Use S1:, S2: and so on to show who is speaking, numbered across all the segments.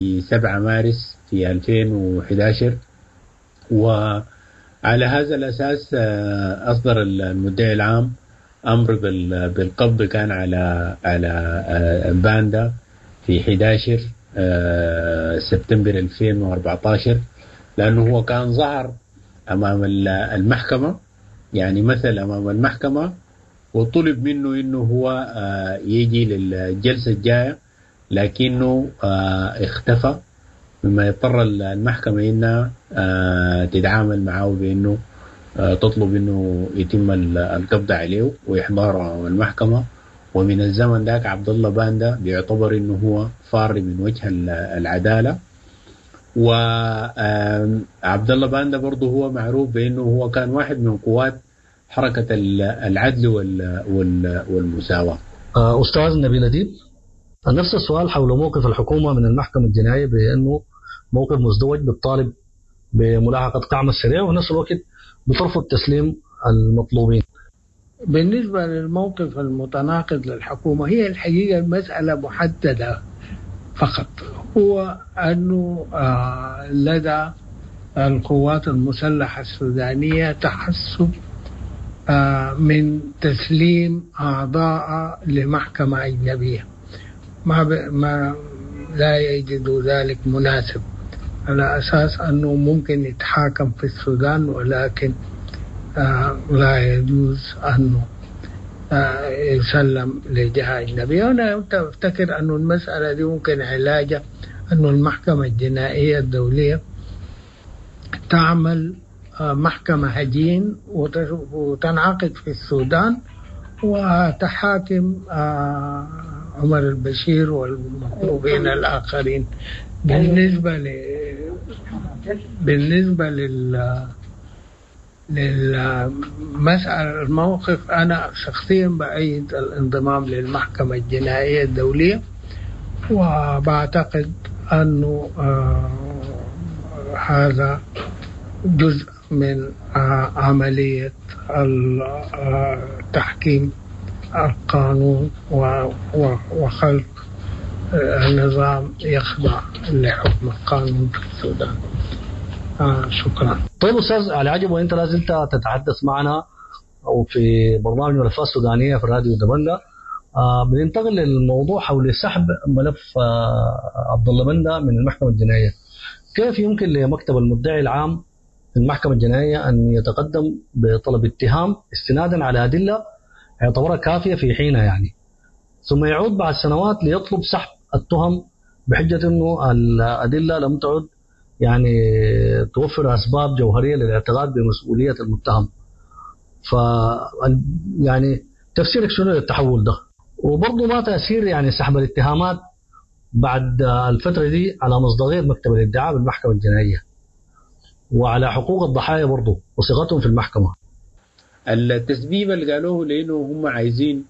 S1: 7 مارس في 2011. وعلى هذا الأساس أصدر المدعي العام أمر بالقبض كان على باندا في 11 سبتمبر 2014، لأنه هو كان ظهر أمام المحكمة، يعني مثل أمام المحكمة، وطلب منه إنه هو يجي للجلسة الجاية، لكنه اختفى، مما يضطر المحكمة إنها تتعامل معه بإنه تطلب إنه يتم القبض عليه وإحضاره أمام المحكمة. ومن الزمن ذاك عبد الله باندا بيعتبر إنه هو فار من وجه العدالة. وعبد الله باندا برضه هو معروف بإنه هو كان واحد من قوات حركة العدل والمساواة.
S2: أستاذ نبيل أديب، نفس السؤال حول موقف الحكومة من المحكمة الجنائية بأنه موقف مزدوج، بالطالب بملاحقة الدعم السريع وفي نفس الوقت بترفض تسليم المطلوبين.
S3: بالنسبة للموقف المتناقض للحكومة، هي الحقيقة المسألة محددة فقط، هو أنه لدى القوات المسلحة السودانية تحسب من تسليم أعضاء لمحكمة أجنبية، ما لا يجد ذلك مناسب، على أساس أنه ممكن يتحاكم في السودان، ولكن لا يجوز أنه يسلم لجهة أجنبية. أنا أفتكر أنه المسألة دي ممكن علاجها أنه المحكمة الجنائية الدولية تعمل محكمة هجين وتنعقد في السودان وتحاكم عمر البشير والمطلوبين الآخرين. بالنسبة للمسألة الموقف، أنا شخصيا بأيد الانضمام للمحكمة الجنائية الدولية، وبعتقد أنه هذا جزء من عملية تحكيم القانون وخلق نظام يخضع لحكم القانون في السودان. شكرا.
S2: طيب أستاذ علي عجب، وأنت لازلت تتحدث معنا أو في برنامج ملفات سودانية في راديو دبنجة، بننتقل للموضوع حول سحب ملف عبد الله باندا من المحكمة الجنائية. كيف يمكن لمكتب المدعي العام في المحكمة الجنائية أن يتقدم بطلب اتهام استنادا على أدلة يعتبرها كافية في حينها يعني، ثم يعود بعد سنوات ليطلب سحب التهم بحجة أنه الأدلة لم تعد يعني توفر أسباب جوهرية للاعتقاد بمسؤولية المتهم؟ ف يعني تفسيرك شنو للتحول ده؟ وبرضه ما تأثير يعني سحب الاتهامات بعد الفترة دي على مصداقية مكتب الادعاء بالمحكمة الجنائية وعلى حقوق الضحايا برضه وصيغتهم في المحكمة؟
S1: التسبيب اللي قالوه لأنه هم عايزين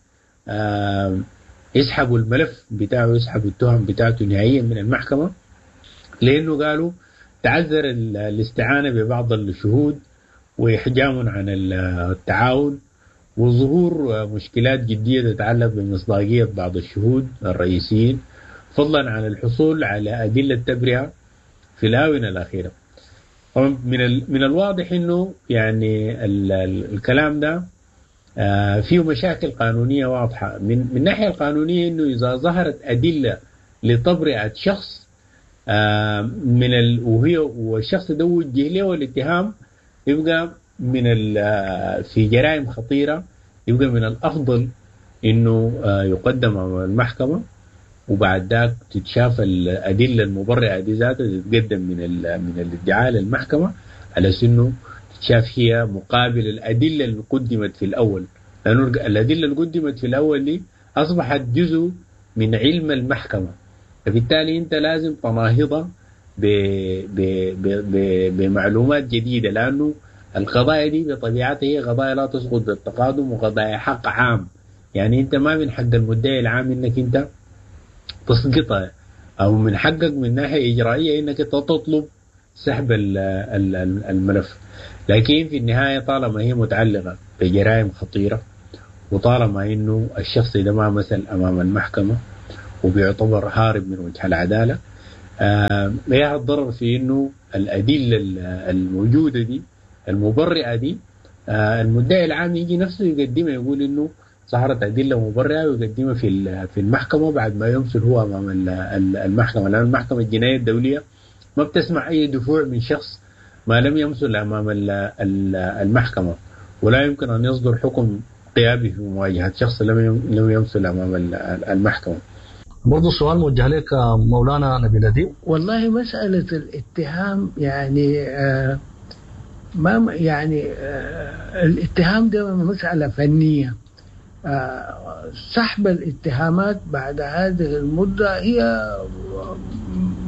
S1: يسحبوا الملف بتاعه، يسحبوا التهم بتاعته نهائيا من المحكمة، لأنه قالوا تعذر الاستعانة ببعض الشهود وإحجام عن التعاون وظهور مشكلات جدية تتعلق بمصداقية بعض الشهود الرئيسيين، فضلا عن الحصول على أدلة تبرئة في الآونة الأخيرة. طبعا من الواضح إنه يعني الكلام ده فيه مشاكل قانونية واضحة. من الناحية القانونية إنه إذا ظهرت أدلة لتبرئة شخص من وهي والشخص ده وجه له الاتهام، يبقى من في جرائم خطيرة، يبقى من الأفضل إنه يقدم أمام المحكمة، وبعد ذاك تتشاف الأدلة المبرئة دي ذاتها تتقدم من الادعاء للمحكمة، على إنه تتشاف هي مقابل الأدلة اللي قدمت في الأول، لأنه الأدلة اللي قدمت في الأول دي أصبحت جزء من علم المحكمة، فبالتالي أنت لازم تناهضها بمعلومات جديدة، لأنه القضايا دي بطبيعتها هي قضايا لا تسقط بالتقادم وقضايا حق عام، يعني أنت ما من حق المدعي العام إنك أنت تسقطها، أو من حقك من ناحية إجرائية إنك تطلب سحب الملف. لكن في النهاية طالما هي متعلقة بجرائم خطيرة، وطالما إنه الشخص ده ما مثل أمام المحكمة وبيعتبر هارب من وجه العدالة، ايه الضرر في انه الادلة الموجودة دي المبرئه دي المدعي العام يجي نفسه يقدمها، يقول انه ظهرت ادلة مبرئه ويقدمها في المحكمة بعد ما يمثل هو امام المحكمة، لان المحكمة الجنائية الدولية ما بتسمع اي دفوع من شخص ما لم يمثل امام المحكمة، ولا يمكن ان يصدر حكم قيابي في مواجهة شخص لم يمثل امام المحكمة.
S2: برضو السؤال موجه لك مولانا نبيل أديب.
S3: والله مسألة الاتهام يعني ما يعني الاتهام ده مسألة فنية. سحب الاتهامات بعد هذه المدة هي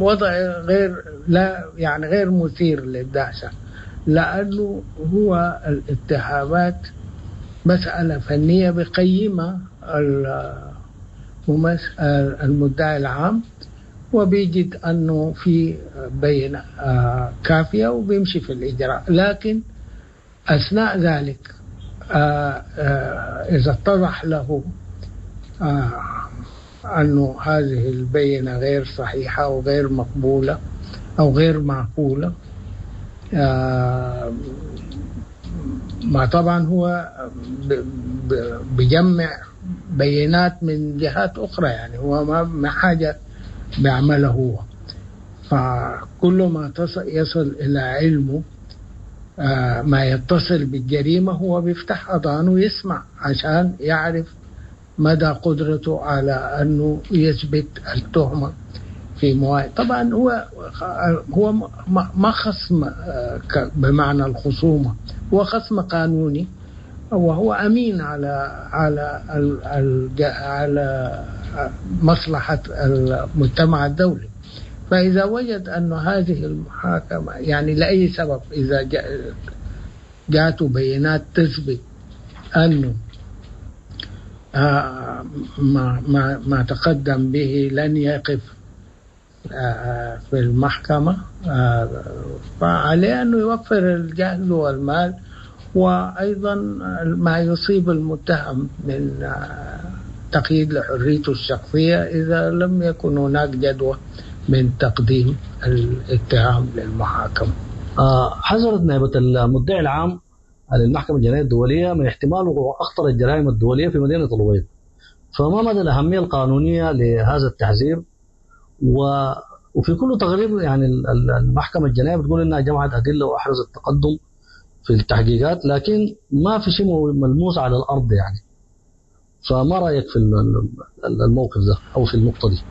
S3: وضع غير لا يعني غير مثير للدهشة، لأنه هو الاتهامات مسألة فنية بقيمة المدعي العام، وبيجد أنه في بينة كافية وبيمشي في الإجراء. لكن أثناء ذلك إذا اتضح له أنه هذه البينة غير صحيحة أو غير مقبولة أو غير معقولة، ما طبعا هو بيجمع بينات من جهات أخرى، يعني هو ما حاجة بيعملها هو، فكل ما يصل إلى علمه ما يتصل بالجريمة هو بيفتح أذانه ويسمع عشان يعرف مدى قدرته على أنه يثبت التهمة في مواجهة. طبعا هو ما خصم بمعنى الخصومة، هو خصم قانوني وهو أمين على على على مصلحة المجتمع الدولي. فإذا وجد أن هذه المحاكمة يعني لأي سبب إذا جاءت بينات تثبت أنه ما تقدم به لن يقف في المحكمة، فعليه أنه يوفر الجهد والمال، وأيضا ما يصيب المتهم من تقييد لحريته الشخصية إذا لم يكن هناك جدوى من تقديم الاتهام للمحاكمة.
S2: حذرت نائبة المدعي العام للمحكمة الجنائية الدولية من احتمال وقوع أخطر الجرائم الدولية في مدينة الأبيض، فما مدى الأهمية القانونية لهذا التحذير؟ وفي كل تقرير يعني المحكمة الجنائية بتقول إنها جمعت أدلة وأحرزت تقدم في التحقيقات، لكن ما في شيء ملموس على الأرض يعني. فما رأيك في الموقف ده أو في النقطة دي؟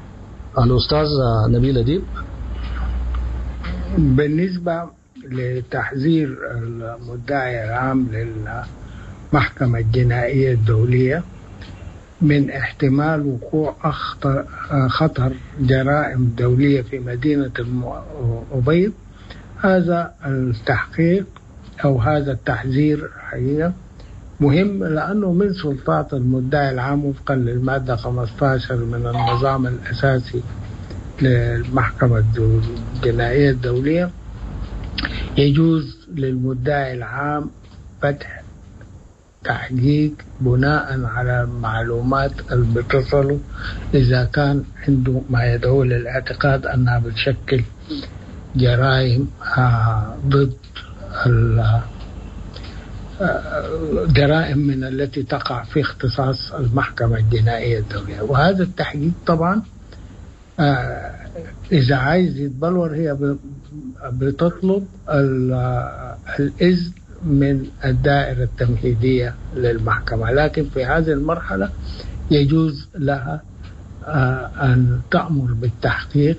S2: الأستاذ نبيل أديب.
S3: بالنسبة لتحذير المدعي العام للمحكمة الجنائية الدولية من احتمال وقوع خطر جرائم دولية في مدينة الأبيض، هذا التحقيق أو هذا التحذير حقيقة مهم، لأنه من سلطات المدعي العام وفقا للمادة 15 من النظام الأساسي للمحكمة الجنائية الدولية يجوز للمدعي العام فتح تحقيق بناء على المعلومات اللي بتصله إذا كان عنده ما يدعو للاعتقاد أنها بتشكل جرائم ضد جرائم من التي تقع في اختصاص المحكمة الجنائية الدولية. وهذا التحقيق طبعا إذا عايز يتبلور هي بتطلب الإذن من الدائرة التمهيدية للمحكمة، لكن في هذه المرحلة يجوز لها أن تأمر بالتحقيق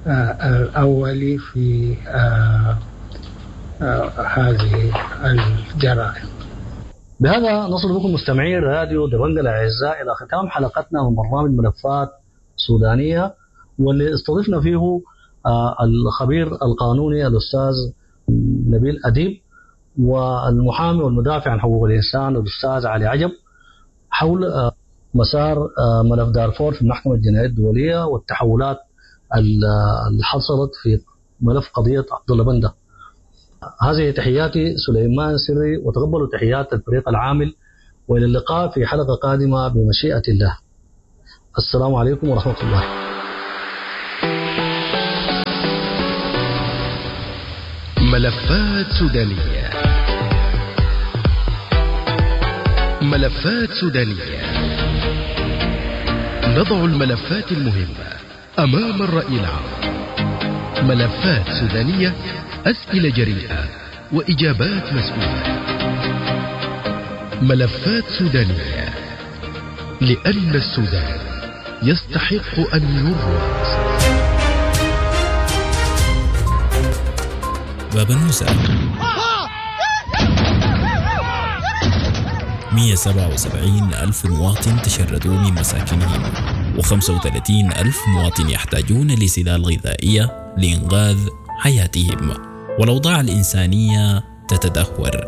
S3: الأولي في هذه الجرائم.
S2: بهذا نصل بكم مستمعي راديو دبنجة الأعزاء إلى ختام حلقتنا من برنامج ملفات سودانية، واللي استضفنا فيه الخبير القانوني الأستاذ نبيل أديب والمحامي والمدافع عن حقوق الإنسان الأستاذ علي عجب حول مسار ملف دارفور في المحكمة الجنائية الدولية والتحولات اللي حصلت في ملف قضية عبد الله بندة. هذه تحياتي سليمان سري، وتقبلوا تحيات الفريق العامل، وإلى اللقاء في حلقة قادمة بمشيئة الله. السلام عليكم ورحمة الله.
S4: ملفات سودانية. ملفات سودانية، نضع الملفات المهمة أمام الرأي العام. ملفات سودانية، أسئلة جريئة وإجابات مسؤولة. ملفات سودانية، لأن السودان يستحق أن يروى.
S5: بابنوسة 177 ألف مواطن تشردوا من مساكنهم، و35 ألف مواطن يحتاجون لسلال غذائية لإنقاذ حياتهم، والأوضاع الإنسانية تتدهور.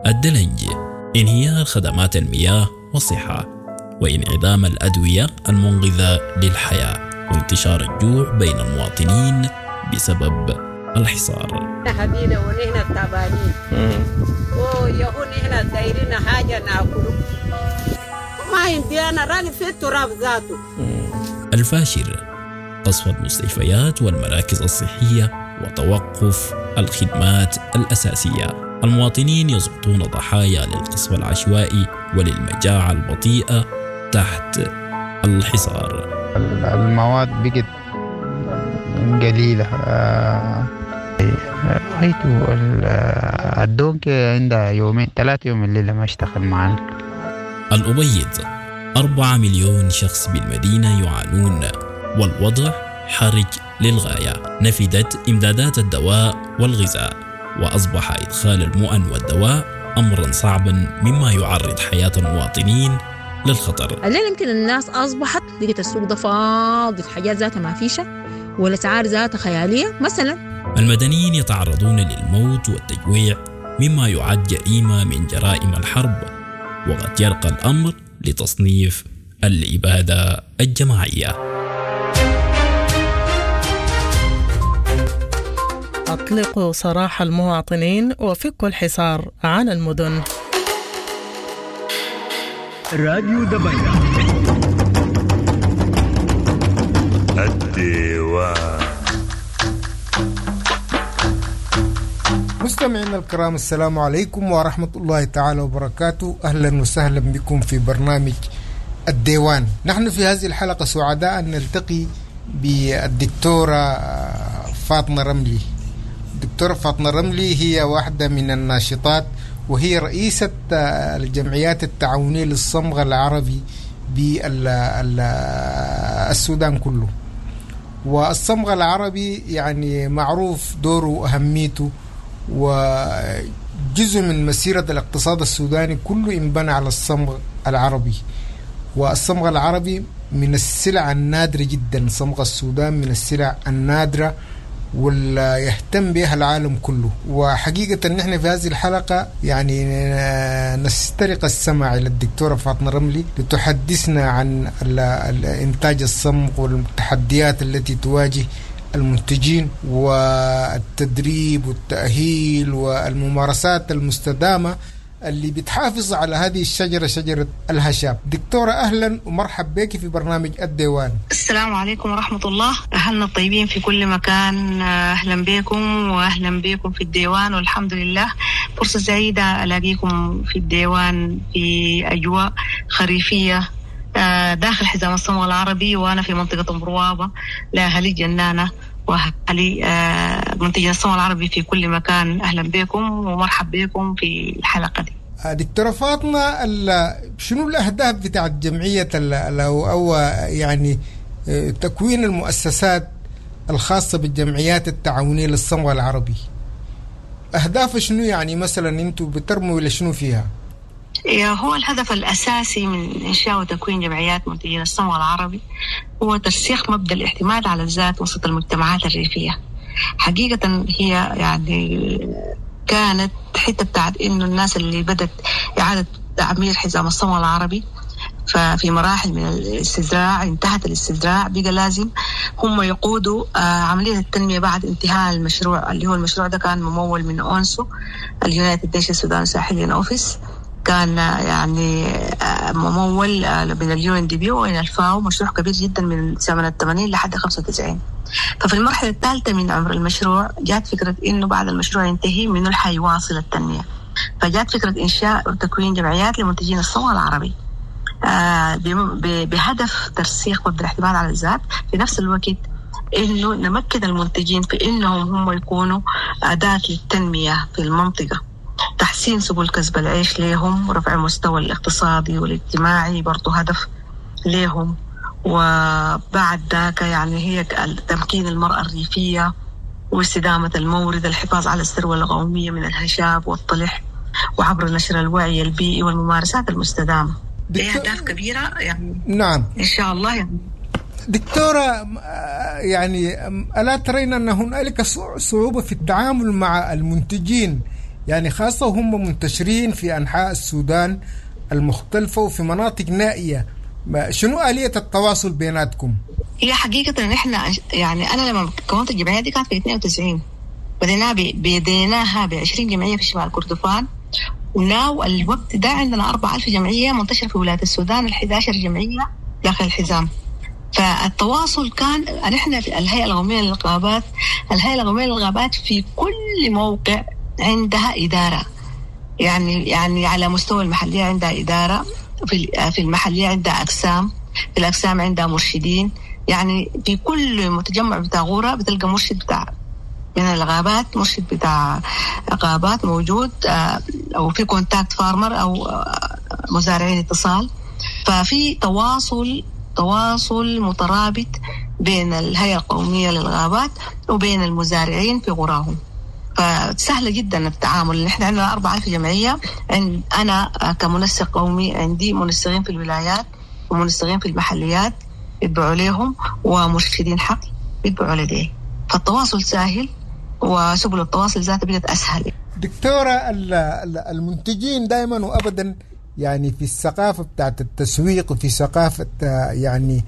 S5: الدلنج، انهيار خدمات المياه والصحة، وانعدام الأدوية المنقذة للحياة، وانتشار الجوع بين المواطنين بسبب الحصار.
S6: حبينا ونحن تعبانين ويهون نحن دايرين حاجة ناكله، ما عندي أنا راني في التراب ذاته.
S5: الفاشر، قصف المستشفيات والمراكز الصحية وتوقف الخدمات الأساسية. المواطنين يسقطون ضحايا للقصف العشوائي وللمجاعة البطيئة تحت الحصار.
S7: المواد بقت قليلة. رأيته الدونك عندها يومين 3 يوم الليلة ما اشتغل معنا.
S5: الأبيض، 4 مليون شخص بالمدينة يعانون، والوضع حرج للغاية. نفدت إمدادات الدواء والغذاء، وأصبح إدخال المؤن والدواء أمرا صعبا، مما يعرض حياة المواطنين للخطر.
S8: الليلة يمكن الناس أصبحت لقيت السوق ده فاضي، الحاجات ذاتها ما فيشة والأسعار ذاتها خيالية مثلا.
S5: المدنيين يتعرضون للموت والتجويع، مما يعد جريمة من جرائم الحرب، وقد يرقى الأمر لتصنيف الإبادة الجماعية.
S9: أطلقوا سراح المواطنين وفكوا الحصار عن المدن.
S4: راديو دبنجة الديوان.
S10: مستمعينا الكرام، السلام عليكم ورحمة الله تعالى وبركاته. أهلا وسهلا بكم في برنامج الديوان. نحن في هذه الحلقة سعداء أن نلتقي بالدكتورة فاطمة رملي. الدكتورة فاطمة رملي هي واحدة من الناشطات، وهي رئيسة الجمعيات التعاونية للصمغ العربي بالسودان كله. والصمغ العربي يعني معروف دوره وأهميته، وجزء من مسيرة الاقتصاد السوداني كله انبنى على الصمغ العربي. والصمغ العربي من السلع النادرة جدا، صمغ السودان من السلع النادرة واللي يهتم بها العالم كله. وحقيقة نحن في هذه الحلقة يعني نسترق السمع إلى الدكتورة فاطمة رملي لتحدثنا عن إنتاج الصمغ والتحديات التي تواجه المنتجين، والتدريب والتأهيل والممارسات المستدامة اللي بتحافظ على هذه الشجرة، شجرة الهشاب. دكتورة أهلا ومرحب بك في برنامج الديوان.
S11: السلام عليكم ورحمة الله. أهلنا الطيبين في كل مكان، أهلا بكم وأهلا بكم في الديوان، والحمد لله فرصة سعيدة ألاقيكم في الديوان في أجواء خريفية داخل حزام الصمغ العربي، وأنا في منطقة مروابة لأهلي جنانة وأهلي منتجي الصمغ العربي في كل مكان. أهلا بكم ومرحب بكم في الحلقة دي.
S10: دكتورة فاطمة، شنو الأهداف بتاعت جمعية أو يعني تكوين المؤسسات الخاصة بالجمعيات التعاونية للصمغ العربي؟ أهداف شنو يعني؟ مثلا أنتوا بترموا إلى شنو فيها؟
S11: هو الهدف الأساسي من إنشاء وتكوين جمعيات منتجين الصمغ العربي هو ترسيخ مبدأ الاعتماد على الذات وسط المجتمعات الريفية. حقيقة هي يعني كانت حتة بتاعت إنه الناس اللي بدت إعادة تعمير حزام الصمغ العربي، ففي مراحل من الاستزراع انتهت الاستزراع، بقى لازم هم يقودوا عملية التنمية بعد انتهاء المشروع، اللي هو المشروع ده كان ممول من أونسو ال United Nations Sudan Sahelian Office. كان يعني ممول من ال UNDP ومن الفاو، مشروع كبير جدا من سنة 80 لحد 95. ففي المرحلة الثالثة من عمر المشروع جات فكرة إنه بعد المشروع ينتهي منه حيواصل التنمية، فجات فكرة إنشاء وتكوين جمعيات لمنتجين الصمغ العربي بهدف ترسيخ مبدأ الاعتماد على الذات، في نفس الوقت إنه نمكن المنتجين في إنهم هم يكونوا أداة للتنمية في المنطقة، تحسين سبل كسب العيش لهم، ورفع مستوى الاقتصادي والاجتماعي برضو هدف لهم. وبعد ذاك يعني هي تمكين المرأة الريفية واستدامة المورد، الحفاظ على الثروة القومية من الهشاب والطلح، وعبر نشر الوعي البيئي والممارسات المستدامة. دي أهداف كبيرة يعني.
S10: نعم
S11: إن شاء الله يعني.
S10: دكتورة، يعني ألا ترين أن هنالك صعوبة في التعامل مع المنتجين، يعني خاصة هم منتشرين في أنحاء السودان المختلفة وفي مناطق نائية، شنو آلية التواصل بيناتكم؟
S11: هي حقيقة إن إحنا يعني أنا لما كونت الجمعية دي كانت في 92، بديناها ب 20 جمعية في شمال كردفان، وناو الوقت ده عندنا 4000 جمعية منتشرة في ولاية السودان، 11 جمعية داخل الحزام. فالتواصل كان نحن في الهيئة القومية للغابات، الهيئة القومية للغابات في كل موقع عندها إدارة، يعني على مستوى المحلية عندها إدارة، في المحلية عندها أقسام، في الأقسام عندها مرشدين، يعني في كل متجمع بتاع غورة بتلقى مرشد بتاع من الغابات، مرشد بتاع غابات موجود، أو في contact farmer أو مزارعين اتصال. ففي تواصل مترابط بين الهيئة القومية للغابات وبين المزارعين في قراهم، فسهلة جدا التعامل. نحن عندنا 4000 جمعية، أنا كمنسق قومي عندي منسقين في الولايات ومنسقين في المحليات يتبعوا لهم، ومرشدين حقل يتبعوا لديه، فالتواصل سهل وسبل التواصل ذاته بقت أسهل.
S10: دكتورة، المنتجين دائما وأبدا يعني في الثقافة بتاعت التسويق وفي ثقافة يعني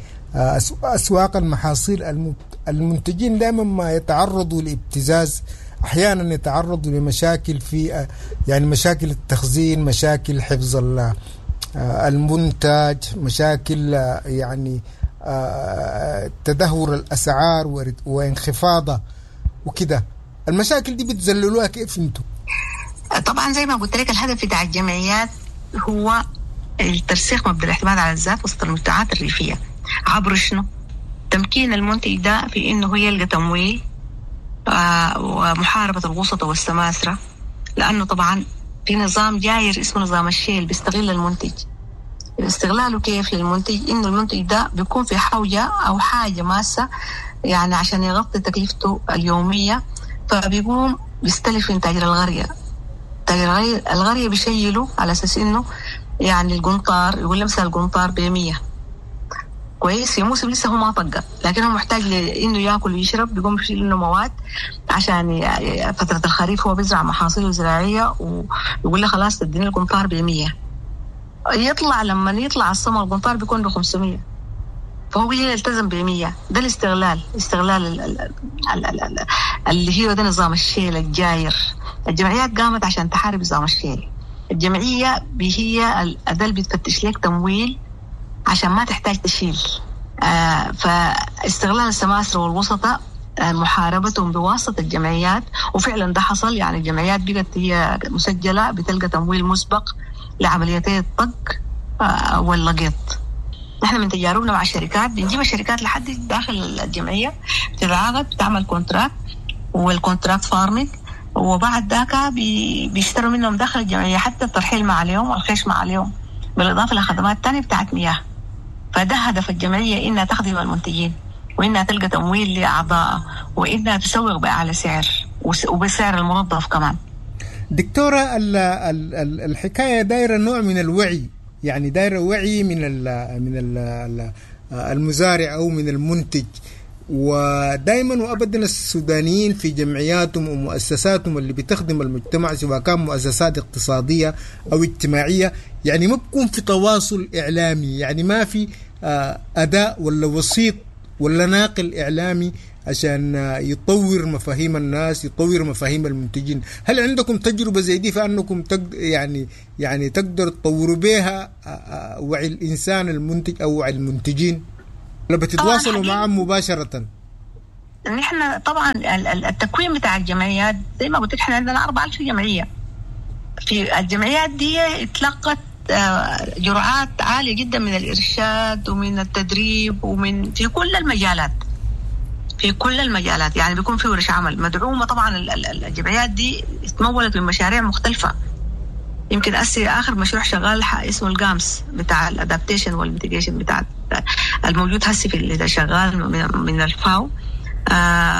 S10: أسواق المحاصيل، المنتجين دائما ما يتعرضوا لابتزاز، أحيانا يتعرضوا لمشاكل في يعني مشاكل التخزين، مشاكل حفظ المنتج، مشاكل يعني تدهور الأسعار وانخفاضها وكده. المشاكل دي بتذللوها كيف انتم؟
S11: طبعا زي ما قلت لك الهدف بتاع الجمعيات هو الترسيخ مبدأ الاعتماد على الذات وسط المجتمعات الريفية، عبر شنو؟ تمكين المنتج ده في انه يلقى تمويل، ومحاربة الوسطى والسماسرة، لأنه طبعا في نظام جاير اسمه نظام الشيل بيستغل المنتج. استغلاله كيف للمنتج؟ إنه المنتج ده بيكون في حوجة أو حاجة ماسة يعني عشان يغطي تكلفته اليومية، فبيقوم بيستلف من تاجر الغرية. تاجر الغرية بيشيله على أساس إنه يعني القنطار، يقول له مثلا القنطار ب100 كويس، في موسم لسه هو ما طقه، لكن هو محتاج لانه ياكل ويشرب، بيقوم يشيل منه مواد عشان فترة الخريف هو بيزرع محاصيله الزراعية، ويقول له خلاص تديني القنطار ب100. يطلع لما يطلع السمر القنطار بيكون ب500، فهو يلتزم ب100. ده الاستغلال، استغلال اللي هي ده نظام الشيل الجاير. الجمعيات قامت عشان تحارب نظام الشيل. الجمعية هي الاداة اللي بتفتش لك تمويل عشان ما تحتاج تشيل. فاستغلال السماسرة والوسطاء، محاربتهم بواسطة الجمعيات، وفعلا ده حصل. يعني الجمعيات بقت هي مسجلة بتلقى تمويل مسبق لعمليتي الطق واللقيط. نحن من تجاربنا مع الشركات بنجيب الشركات لحد داخل الجمعية، بتتعاقد، بتعمل contract وال contract farming، وبعد ذاك بيشتروا منهم داخل الجمعية، حتى الترحيل ما عليهم والخيش ما عليهم، بالإضافة لخدمات تانية بتاعت مياه. فده هدف الجمعية، إنها تخدم المنتجين، وإنها تلقى تمويل لأعضائها، وإنها تسوق بأعلى سعر وبسعر المنظف كمان.
S10: دكتورة، الحكاية دايرة نوع من الوعي، يعني دايرة وعي من ال من ال المزارع أو من المنتج. ودائما وابدا السودانيين في جمعياتهم ومؤسساتهم اللي بتخدم المجتمع، سواء كان مؤسسات اقتصادية او اجتماعية، يعني ما بكون في تواصل اعلامي، يعني ما في اداء ولا وسيط ولا ناقل اعلامي عشان يطور مفاهيم الناس، يطور مفاهيم المنتجين. هل عندكم تجربة زي دي فأنكم يعني تقدروا تطوروا بها وعي الإنسان المنتج أو وعي المنتجين؟ ولا بتتواصلوا معهم مباشرة؟
S11: نحن طبعا التكوين بتاع الجمعيات زي ما قلت لك، احنا عندنا 4000 جمعية. في الجمعيات دي اتلقت جرعات عالية جدا من الإرشاد ومن التدريب ومن في كل المجالات، في كل المجالات. يعني بيكون في ورش عمل مدعومة. طبعا الجمعيات دي اتمولت من مشاريع مختلفة. يمكن أسي آخر مشروع شغال اسمه ال GAMS بتاع ال adaptation وال mitigation بتاع الموجود هسي في اللي شغال من الفاو.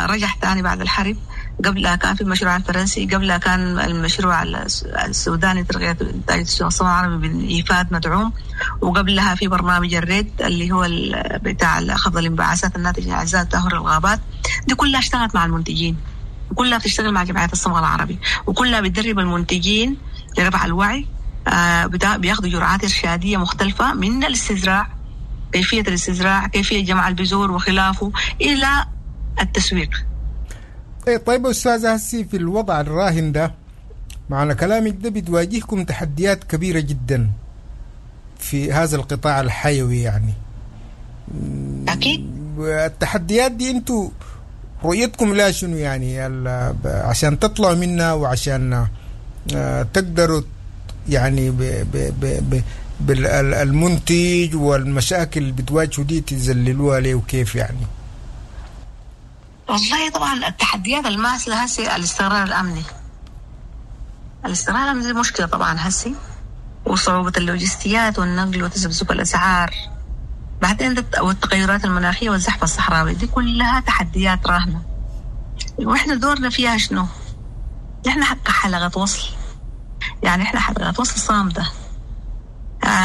S11: رجع تاني بعد الحرب. قبلها كان في المشروع الفرنسي، قبلها كان المشروع السوداني ترقية إنتاج الصناعة العربي بالإيفاد مدعوم، وقبلها في برنامج ال REDD اللي هو بتاع خفض الانبعاثات الناتجة عن إزالة تدهور الغابات. دي كلها اشتغلت مع المنتجين، وكلها بتشتغل مع جمعيات الصمغ العربي، وكلها بتدرب المنتجين لرفع الوعي. بياخدوا جرعات إرشادية مختلفة من الاستزراع، كيفية الاستزراع، كيفية جمع البذور وخلافه، إلى التسويق.
S10: طيب أستاذة، هسي في الوضع الراهن ده معنى كلامك ده بتواجهكم تحديات كبيرة جدا في هذا القطاع الحيوي يعني.
S11: أكيد.
S10: التحديات دي انتوا رؤيتكم لا شنو يعني عشان تطلعوا منها وعشان تقدروا يعني بالمنتج والمشاكل اللي بتواجهوا دي تذللوها ليه وكيف يعني؟
S11: والله طبعا التحديات الماثلة هسي الاستقرار الأمني. الاستقرار الأمني دي مشكلة طبعا هسي، وصعوبة اللوجستيات والنقل وتذبذب الأسعار، بعدين والتغيرات المناخية والزحف الصحراوي، دي كلها تحديات راهنة. وإحنا دورنا فيها شنو؟ إحنا حلقة وصل، يعني إحنا حلقة وصل صامدة.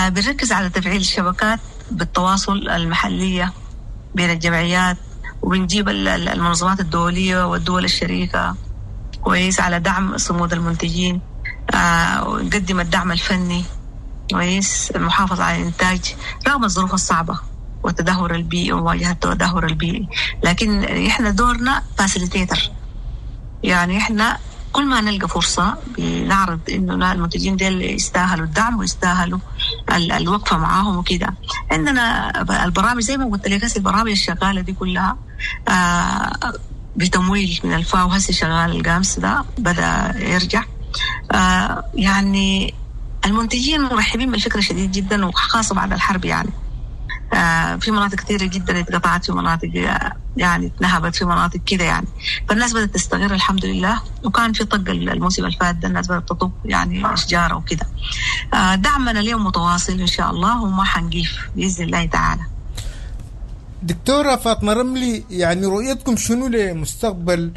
S11: بنركز على تفعيل الشبكات بالتواصل المحلية بين الجمعيات، وبنجيب المنظمات الدولية والدول الشريكة كويس على دعم صمود المنتجين، ونقدم الدعم الفني كويس، المحافظة على الإنتاج رغم الظروف الصعبة والتدهور البيئي ومواجهة التدهور البيئي. لكن إحنا دورنا facilitator، يعني إحنا كل ما نلقى فرصة بنعرض إنه المنتجين ديل يستاهلوا الدعم ويستاهلوا الوقفة معاهم وكده. عندنا البرامج زي ما قلت لك، هسه البرامج الشغالة دي كلها بتمويل من الفاو. هسه شغال ال GAMS ده بدأ يرجع. يعني المنتجين مرحبين بالفكرة شديد جدا، وخاصة بعد الحرب يعني. في مناطق كثيرة جدا اتقطعت، في مناطق يعني اتنهبت، في مناطق كده يعني. فالناس بدأت تستغر الحمد لله. وكان في طق الموسم الفات ده الناس بدأت تطق يعني أشجار وكده. دعمنا اليوم متواصل إن شاء الله، وما حنقيف بإذن الله تعالى.
S10: دكتورة فاطمة رملي، يعني رؤيتكم شنو لمستقبل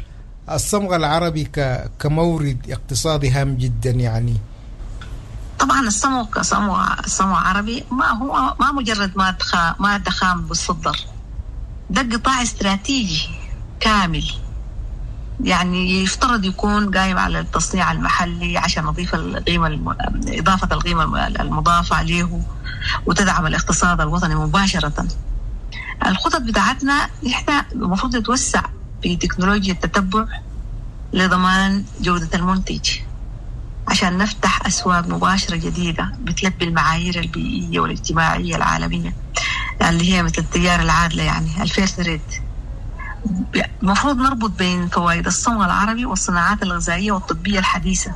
S10: الصمغ العربي كمورد اقتصادي هام جدا يعني؟
S11: طبعا الصمغ كصمغ عربي ما هو ما مجرد مادة خام بالصدر، ده قطاع استراتيجي كامل، يعني يفترض يكون قايم على التصنيع المحلي عشان نضيف القيمة، إضافة القيمة المضافة عليه، وتدعم الاقتصاد الوطني مباشرة. الخطط بتاعتنا احنا المفروض نتوسع في تكنولوجيا التتبع لضمان جودة المنتج، عشان نفتح أسواق مباشرة جديدة بتلبي المعايير البيئية والاجتماعية العالمية اللي هي مثل التجارة العادلة يعني ال fair trade. المفروض نربط بين فوائد الصمغ العربي والصناعات الغذائية والطبية الحديثة.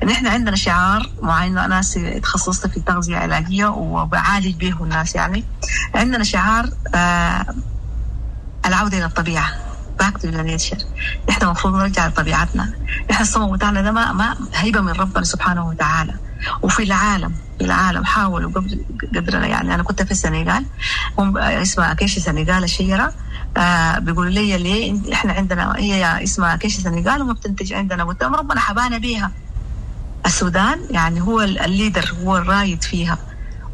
S11: نحن عندنا شعار معين، أنا تخصصت في التغذية العلاجية وبعالج به الناس يعني. عندنا شعار العودة إلى الطبيعة، back to the nature. نحن المفروض نرجع لطبيعتنا. نحن الصمغ بتاعنا ده ما هيبة من ربنا سبحانه وتعالى. وفي العالم، في العالم حاولوا قبل قدرنا يعني. أنا كنت في السنغال، هم اسمها acacia سنغال الشجرة، بيقولوا لي ليه إحنا عندنا هي اسمها acacia سنغال وما بتنتج عندنا؟ قلت لهم ربنا حبانا بيها. السودان يعني هو ال leader، هو الرايد فيها،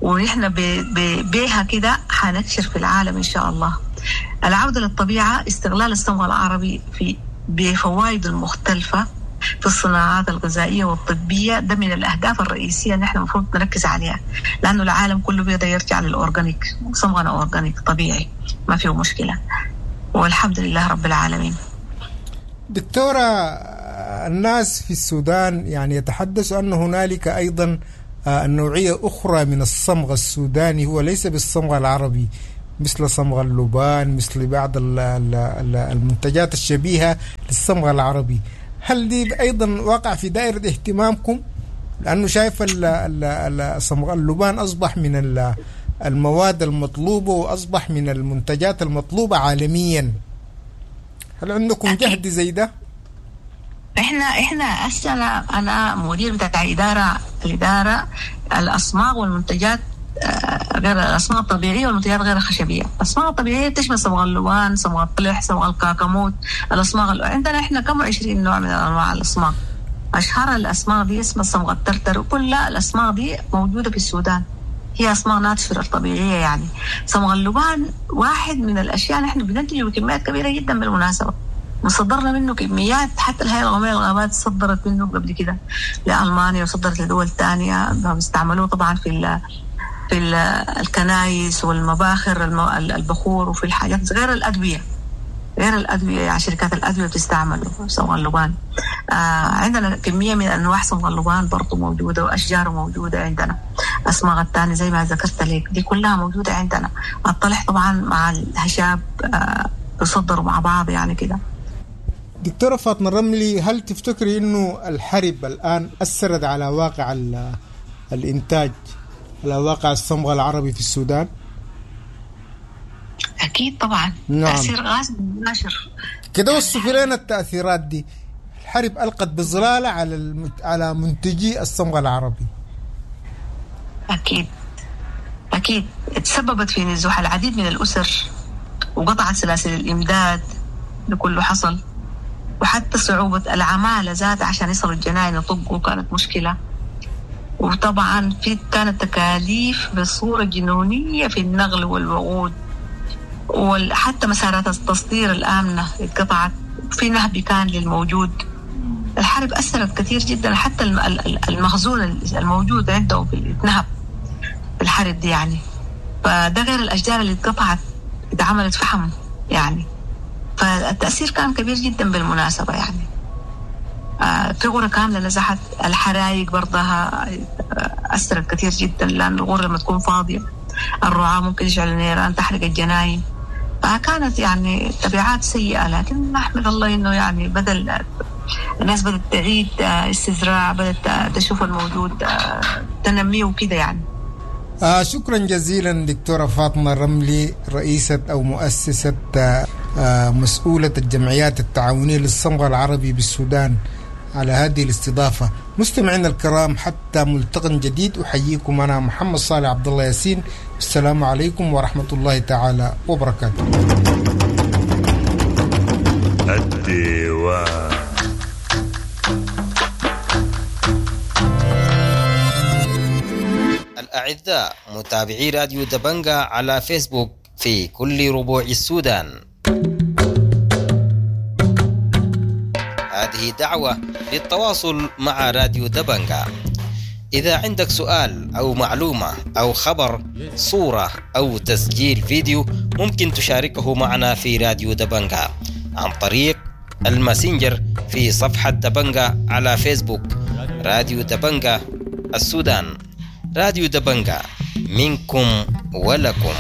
S11: ونحن بيها كده حنكشر في العالم إن شاء الله. العودة للطبيعة، استغلال الصمغ العربي في بفوائده المختلفة في الصناعات الغذائية والطبية، ده من الأهداف الرئيسية اللي احنا المفروض نركز عليها، لأنه العالم كله بيقدر يرجع لل organic. صمغنا organic طبيعي ما فيه مشكلة. والحمد لله رب العالمين.
S10: دكتورة، الناس في السودان يعني يتحدثوا أن هنالك أيضا نوعية أخرى من الصمغ السوداني هو ليس بالصمغ العربي، مثل صمغ اللبان، مثل بعض المنتجات الشبيهة للصمغ العربي. هل دي أيضا واقع في دائرة اهتمامكم؟ لأنه شايف صمغ اللبان أصبح من المواد المطلوبة وأصبح من المنتجات المطلوبة عالميا. هل عندكم جهد زي ده؟
S11: احنا هسه انا مدير بتاع الادارة الاصماغ والمنتجات غير الاصماغ الطبيعية والمنتجات غير الخشبية. الاصماغ الطبيعية تشمل صمغ اللبان، صمغ الطلح، صمغ الكاكاموت، الاصماغ عندنا احنا كم 20 نوع من انواع الاصماغ. اشهر الاصماغ دي اسمها صمغ الترتر، وكل الاصماغ دي موجودة في السودان، هي اصماغ natural طبيعية يعني. صمغ اللبان واحد من الاشياء نحن بننتجه بكميات كبيرة جدا بالمناسبة، وصدرنا منه كميات، حتى الهيئة القومية للغابات صدرت منه قبل كده لألمانيا وصدرت لدول تانية. بيستعملوه طبعا في الكنايس والمباخر، البخور، وفي الحاجات غير الأدوية، يعني شركات الأدوية بتستعمله صمغ اللبان. عندنا كمية من أنواع صمغ اللبان برضو موجودة، وأشجاره موجودة عندنا. أصماغ الثانية زي ما ذكرت لك دي كلها موجودة عندنا. الطلح طبعا مع الهشاب بيصدروا مع بعض يعني كده.
S10: دكتورة فاطمة الرملي، هل تفتكري أنه الحرب الآن أثرت على واقع الإنتاج، على واقع الصمغ العربي في السودان؟
S11: أكيد طبعا. نعم. تأثير غاز مباشر
S10: كده. وصفي لنا التأثيرات دي. الحرب ألقت بظلالة على منتجي الصمغ العربي.
S11: أكيد أكيد تسببت في نزوح العديد من الأسر، وقطعت سلاسل الإمداد لكله حصل، وحتى صعوبة العمالة ذات عشان يصلوا الجناين يطقوا كانت مشكلة. وطبعا في كانت تكاليف بصورة جنونية في النقل والوقود، وحتى مسارات التصدير الآمنة اتقطعت، في نهب كان للموجود. الحرب أثرت كثير جدا، حتى المخزون الموجود عنده اتنهب في الحرب دي يعني. فده غير الأشجار اللي اتقطعت اتعملت فحم يعني. فالتأثير كان كبير جدا بالمناسبة يعني. في غرة كاملة نزحت. الحرايق برضها أثرت كثير جدا، لأن الغرة لما تكون فاضية الرعاة ممكن يشعلوا نيران تحرق الجناين، فكانت يعني تبعات سيئة. لكن نحمد الله إنه يعني بدل الناس بدأت تعيد استزراع، بدأت تشوف الموجود تنمية وكده يعني.
S10: شكرا جزيلا دكتورة فاطمة الرملي، رئيسة أو مؤسسة مسؤولة الجمعيات التعاونية للصمغ العربي بالسودان، على هذه الاستضافة. مستمعينا الكرام، حتى ملتقى جديد، أحييكم أنا محمد صالح عبد الله ياسين. السلام عليكم ورحمة الله تعالى وبركاته.
S12: الديوان. الأعزاء متابعي راديو دبنجا على فيسبوك في كل ربوع السودان، هذه دعوة للتواصل مع راديو دبنجا. إذا عندك سؤال أو معلومة أو خبر، صورة أو تسجيل فيديو، ممكن تشاركه معنا في راديو دبنجا عن طريق الماسنجر في صفحة دبنجا على فيسبوك. راديو دبنجا السودان، راديو دبنجا منكم ولكم.